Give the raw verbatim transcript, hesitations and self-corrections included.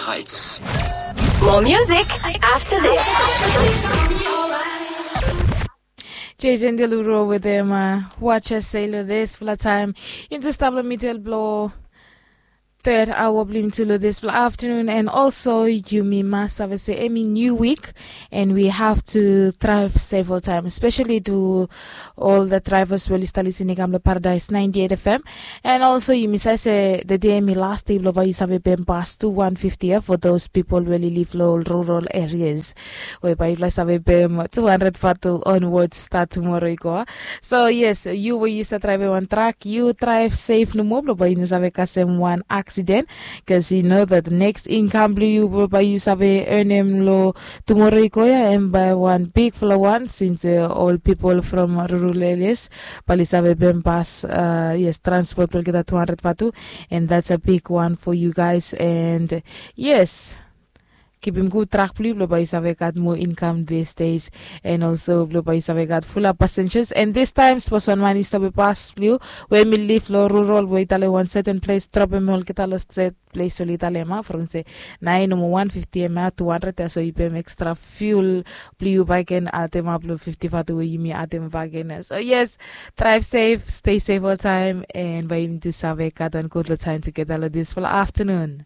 More music after this. Jason Delureau with him, uh, Watch Us Say Lo. Dispela taem yumi stap long midel blong third hour blong yumi tu long dispela afternoon. And also yumi mas save se em i new week, and we have to drive safe all time, especially to all the drivers we oli stap listening kam long Paradise ninety-eight F M. And also yumi save se the day em i last day blong bai yu save pem bas tu one fifty, eh, for those people we oli live long rural areas, we bai yupela save pem two hundred vatu onwards start tomorrow i go. So yes, yu we yu stap drivem wan truck, yu drive safe nomo blong bai yu no save kasem wan accident, because you know that next income blong yu blong bai yu save earnem long tomorrow i go ya em bai wan bigfala wan, since uh, all people from rural areas bai oli save pem bas, uh, yes, transport blong olgeta two hundred vatu, and that's a big one for you guys. And yes, kipim gud truck blong yu blong bai yu save gat more income these days, and also blong bai yu save gat fulap passengers. And this time sapos wan man i stopim bas blong yu we mi live long rural we i talem wan certain place, dropim olgeta long set place oli talem, ah, from se nai nomo one fifty em ya two hundred ya, so yu pem extra fuel blong yu bai ken adem ap long fifty vatu we yumi adem bai ken ya. So yes, drive safe, stay safe all time, and bai yumi tu save gat wan gud long taem tugeta long dispela afternoon.